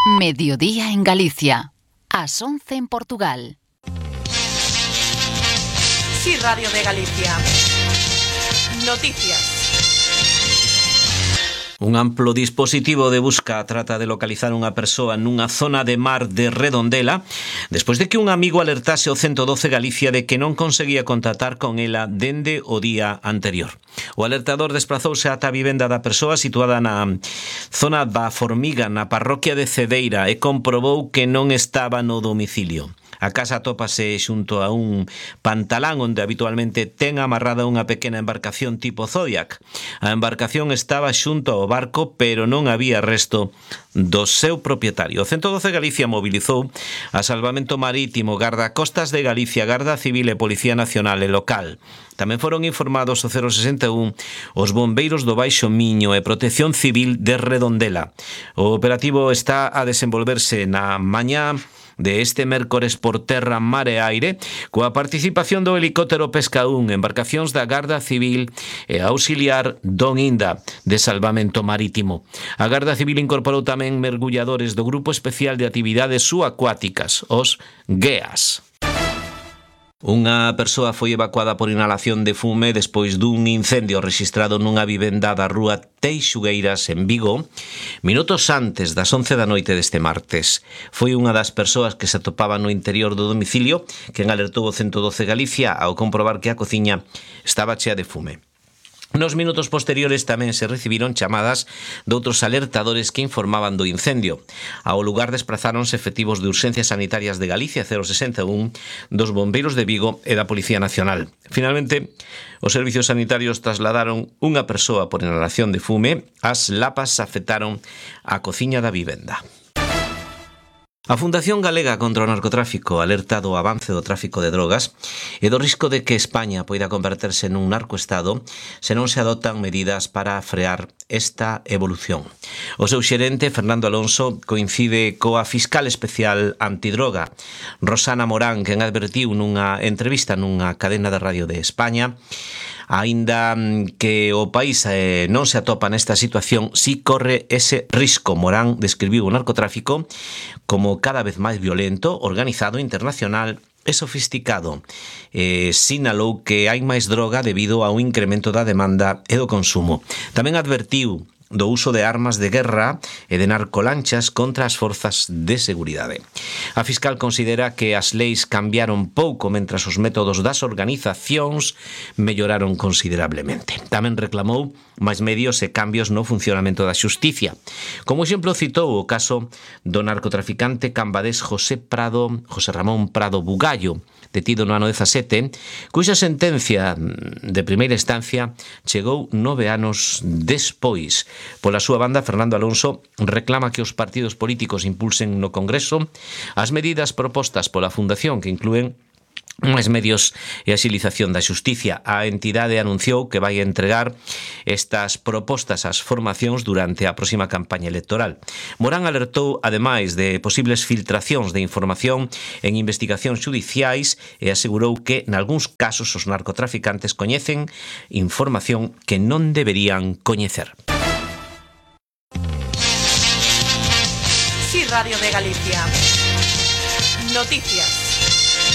Mediodía en Galicia. Ás 11 en Portugal. Sí, Radio de Galicia. Noticias. Un amplo dispositivo de busca trata de localizar unha persoa nunha zona de mar de Redondela despois de que un amigo alertase o 112 Galicia de que non conseguía contactar con ela dende o día anterior. O alertador desprazouse ata a vivenda da persoa situada na zona da Formiga, na parroquia de Cedeira, e comprobou que non estaba no domicilio. A casa atópase xunto a un pantalán onde habitualmente ten amarrada unha pequena embarcación tipo Zodiac. A embarcación estaba xunto ao barco, pero non había resto do seu propietario. O 112 Galicia mobilizou a Salvamento Marítimo, Garda Costas de Galicia, Garda Civil e Policía Nacional e Local. Tamén foron informados o 061 os bombeiros do Baixo Miño e Protección Civil de Redondela. O operativo está a desenvolverse na mañá de este mércores por terra, mar e aire, coa participación do helicóptero Pesca 1, embarcacións da Garda Civil e auxiliar Don Inda de Salvamento Marítimo. A Garda Civil incorporou tamén mergulladores do Grupo Especial de Actividades Subacuáticas, os GEAS. Unha persoa foi evacuada por inhalación de fume despois dun incendio rexistrado nunha vivenda da rúa Teixugueiras en Vigo, minutos antes das 11 da noite deste martes. Foi unha das persoas que se atopaba no interior do domicilio quen alertou o 112 Galicia ao comprobar que a cociña estaba chea de fume. Nos minutos posteriores tamén se recibiron chamadas de outros alertadores que informaban do incendio. Ao lugar desprazáronse efectivos de Urxencias Sanitarias de Galicia 061, dos bombeiros de Vigo e da Policía Nacional. Finalmente, os servicios sanitarios trasladaron unha persoa por inhalación de fume. As lapas afectaron a cociña da vivenda. A Fundación Galega contra o Narcotráfico alerta do avance do tráfico de drogas e do risco de que España poida converterse nun narcoestado se non se adoptan medidas para frear esta evolución. O seu xerente, Fernando Alonso, coincide coa fiscal especial antidroga, Rosana Morán, quen advertiu nunha entrevista nunha cadena de radio de España. Aínda que o país non se atopa nesta situación, si corre ese risco. Morán describiu o narcotráfico como cada vez máis violento, organizado, internacional e sofisticado. Sinalou que hai máis droga debido ao incremento da demanda e do consumo. Tamén advertiu do uso de armas de guerra e de narcolanchas contra as forzas de seguridade. A fiscal considera que as leis cambiaron pouco mentras os métodos das organizacións melloraron considerablemente. Tamén reclamou máis medios e cambios no funcionamento da xusticia. Como exemplo citou o caso do narcotraficante cambadés José Ramón Prado Bugallo, detido no ano 17, cuxa sentencia de primeira instancia chegou 9 anos despois. Pola súa banda, Fernando Alonso reclama que os partidos políticos impulsen no Congreso as medidas propostas pola Fundación, que inclúen máis medios e axilización da xusticia. A entidade anunciou que vai entregar estas propostas ás formacións durante a próxima campaña electoral. Morán alertou, ademais, de posibles filtracións de información en investigacións xudiciais e asegurou que, nalgúns casos, os narcotraficantes coñecen información que non deberían coñecer. Sí, Radio de Galicia. Noticias.